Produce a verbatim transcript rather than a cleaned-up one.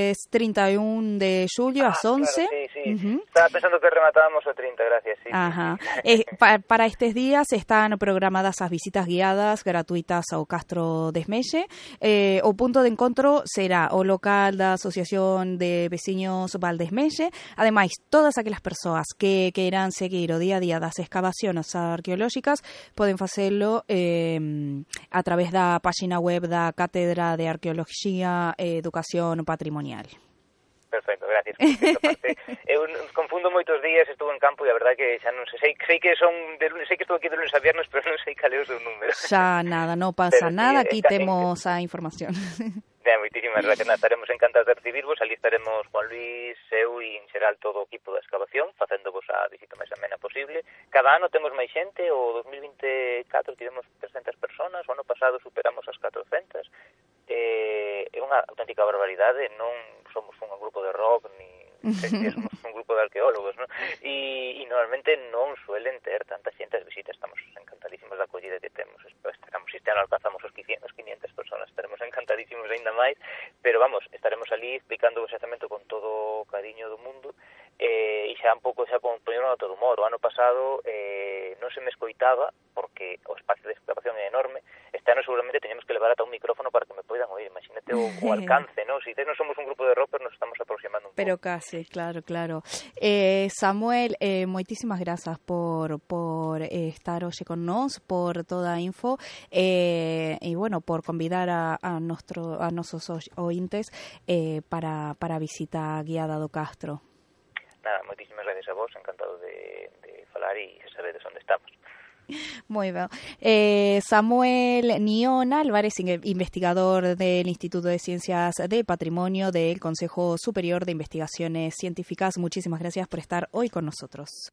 martes treinta y uno de julio ah, ás once. Claro, sí, sí. Uh-huh. Estaba pensando que rematábamos o trinta, gracias. Sí, Ajá. sí. Eh, pa, para estos días están programadas as visitas guiadas gratuitas ao Castro Desmelle. Eh, o punto de encontro será o local da Asociación de Veciños Valdesmelle. Ademais, todas aquelas persoas que queiran seguir o día a día das excavacións arqueolóxicas poden facelo eh, a través da página web da Cátedra de Arqueoloxía e Educación Patrimonial. Perfecto, gracias. Parte, eu confundo moitos días, estuve en campo e a verdade que xa non sei, sei, sei que son de lunes, sei que estuve aquí de lunes a viernes, pero non sei cal é o seu número. Xa nada, non pasa pero, nada, aquí está, temos a información. Ben, moitísimas gracias, nada, estaremos encantados de recibirvos, ali estaremos Juan Luis, eu e en xeral todo o equipo da excavación, facéndovos a visita máis amena posible. Cada ano temos máis xente, o dos mil vinte e catro tivemos trescentas personas, o ano pasado superamos as catrocentas. Eh, é unha auténtica barbaridade, non somos un grupo de rock ni somos un grupo de arqueólogos, ¿no? E, e normalmente non suelen ter tanta xente as visitas, estamos encantadísimos da acollida que temos, esperamos este ano alcanzamos os quinientas personas, estaremos encantadísimos aínda máis, pero vamos, estaremos ali explicando o xacemento con todo o cariño do mundo, eh, e xa un pouco xa con poñeron a todo humor. O ano pasado eh, non se me escoitaba porque o espacio de excavación é enorme. Este ano seguramente teñemos que levar ata un micrófono para que me poidan oír. Imagínate o, o alcance, ¿no? Si non somos un grupo de rockers, nos estamos aproximando un pouco. Pero casi, claro, claro. Eh, Samuel, eh, moitísimas grazas por por eh, estar hoxe con nós, por toda a info, eh, e bueno, por convidar a, a, nostro, a nosos ointes eh, para, para a visita guiada do Castro. Nada, moitísimas gracias a vos, encantado de, de falar e xa sabedes onde estamos. Muy bien. Eh, Samuel Nión Álvarez, investigador del Instituto de Ciencias del Patrimonio del Consejo Superior de Investigaciones Científicas, muchísimas gracias por estar hoy con nosotros.